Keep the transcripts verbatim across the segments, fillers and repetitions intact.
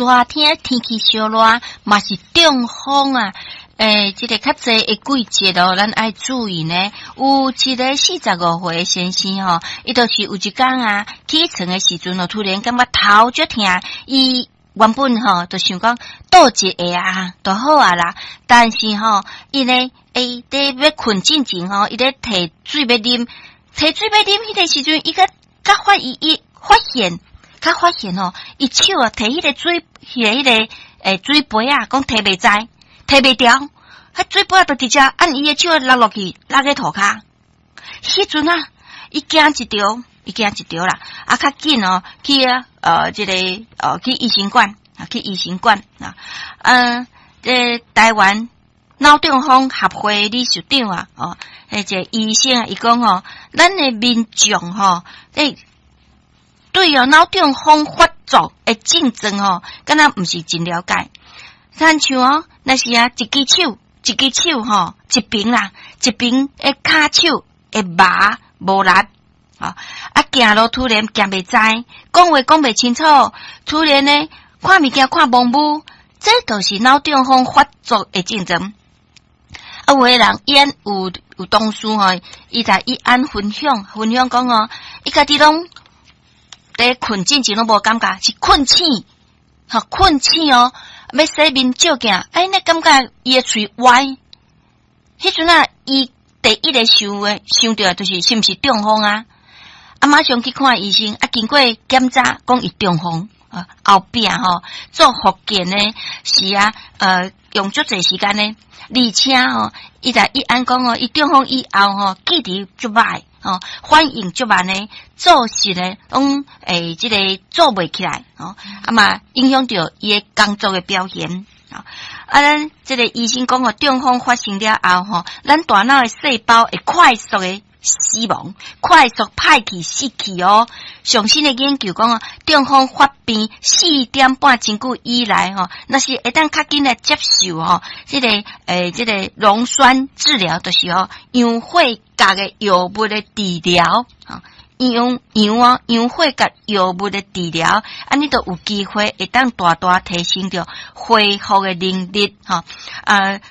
熱天天氣燒熱，嘛是中風啊！欸，這個較濟的季節哦，咱愛注意呢。有一個四十五歲的先生吼，伊就是有一工啊，起床的時陣哦，突然感覺頭足疼，伊原本吼就想講倒一下啊，就好啊啦。但是吼，伊呢，欸，佇欲睏進前吼，伊咧提水欲啉，提水欲啉，彼個時陣，伊閣閣發伊伊發現，閣發現吼，伊手啊提彼個水，彼個彼個欸水杯啊，講提袂在。提袂牢，彼水杯就直接按伊的手落落去，落去塗跤。彼陣啊，伊驚一著，伊驚一著啦。啊，較緊哦，去啊，呃，這個呃，去醫生館啊，去醫生館啊。嗯，這台灣腦中風協會理事長啊，哦，彼個醫生啊，伊講吼，咱的民眾吼，欸，對哦，腦中風發作的症狀吼，敢若毋是真了解。親像哦，若是啊，一支手，一支手吼，一邊啦，一邊的跤手會麻無力，啊，啊，行路突然行袂在，講話講袂清楚，突然呢，看物件看模糊，這就是腦中風發作的症狀。啊，有的人伊有有同事吼，伊在伊按分享分享講哦，伊家己攏佇睏進前攏無感覺，是睏醒，吼睏醒哦。欲洗面照鏡，哎，你感覺伊的喙歪？彼陣啊，伊第一个想的想著就是是毋是中風啊？啊，馬上去看醫生，啊，經過檢查，講伊中風啊，後壁吼做復健呢，是啊，呃，用足濟時間呢，而且吼，伊在伊按講哦，伊中風以後吼，記憶足歹吼，反應足慢呢，做事呢，攏會這個做袂起來吼，啊嘛影響著伊的工作的表現。啊，咱這個醫生講哦，中風發生了後吼，咱大腦的細胞會快速的死亡，快速歹去死去哦。上新的研究講哦，中風發病四點半鐘久以來吼，若是會當較緊來接受吼，這個欸，這個溶栓治療，就是哦，氧血鉀的藥物的治療，吼。氧氧哦，氧血鉀藥物的治療，按呢就有機會會當大大提升著恢復的能力，吼啊，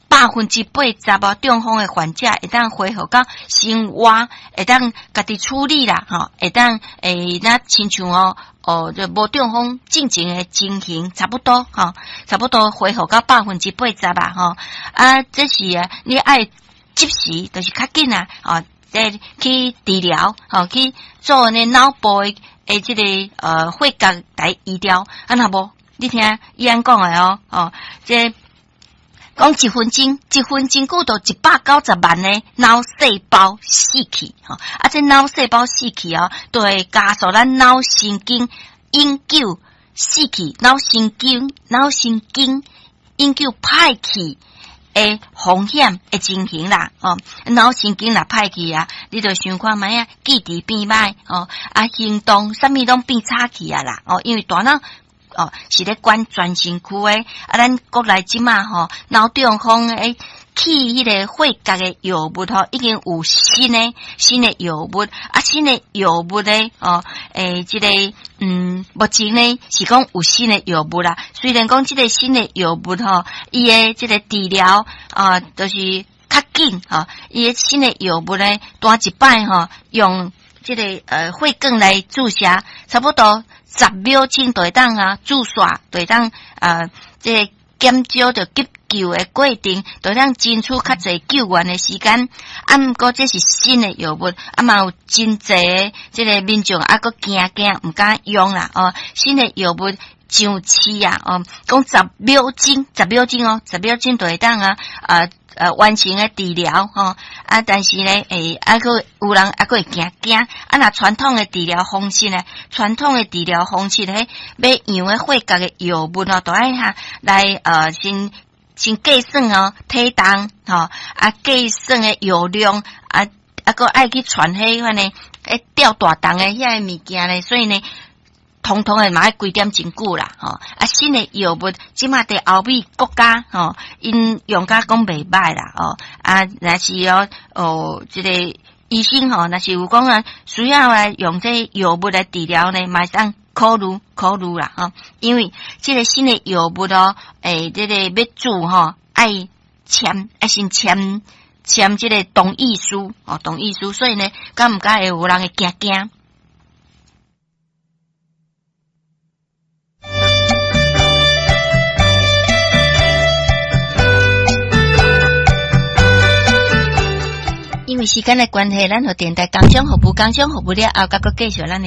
百分之八十哦，中風的患者會當恢復到生活，會當家己處理啦，吼，會當會若親像哦，哦，就無中風進前的情形差不多，吼，差不多恢復到百分之八十吧，吼，啊，這是啊，你愛及時，就是較緊啊，哦。這去治療，吼，去做呢腦部的的這個呃血鉀來醫療，啊若無，你聽伊按講的哦，哦，這講一分鐘，一分鐘久就一百九十萬的腦細胞死去，吼，啊，這腦細胞死去哦，就會加速咱腦神經永久死去，腦神經腦神經永久歹去的風險的情形啦，哦，腦神經若歹去啊，你就想看覓啊，記憶變歹哦，啊，行動啥物攏變差去啊啦，哦，因為大腦哦是咧管全身軀的，啊，咱國內這馬吼腦中風的去彼個血鉀的藥物吼，已經有新的新的藥物，啊，新的藥物咧，哦，欸，這個嗯，目前呢是講有新的藥物啦。雖然講這個新的藥物吼，伊的這個治療啊，就是較緊吼，伊的新的藥物咧，單一擺吼，用這個呃血管來注射，差不多十秒鐘就會當啊注射，就會當啊這個減少著急救的過程，就當爭取較濟救援的時間。啊，毋過這是新的藥物，啊嘛有真濟的這個民眾啊，閣驚驚，毋敢用啦。哦，新的藥物上市啊，哦，講十秒鐘，十秒鐘哦，十秒鐘就會當啊，啊呃完成的治療吼。啊，但是呢，欸，啊閣有人啊閣會驚驚。啊，若傳統的治療方式呢，傳統的治療方式咧，欲用的血鉀的藥物哦，都愛哈來呃先先計算哦體重吼，啊計算的藥量啊啊閣愛去傳彼款呢，欸吊大重的遐个物件咧，所以呢，統統的嘛愛規點真久啦，吼啊新的藥物這馬佇歐美國家吼，𪜶用甲講袂䆀啦，哦啊若是哦哦這個醫生吼，若是有講啊需要來用這藥物來治療呢，嘛會當考慮考慮啦吼，因為這个新的藥物哦，欸，這个欲注吼，愛簽愛先簽簽這个同意書哦，同意書，所以呢，敢毋敢會有人會驚驚？因為時間的關係，咱予電台工商服務，工商服務了後，閣閣繼續咱的。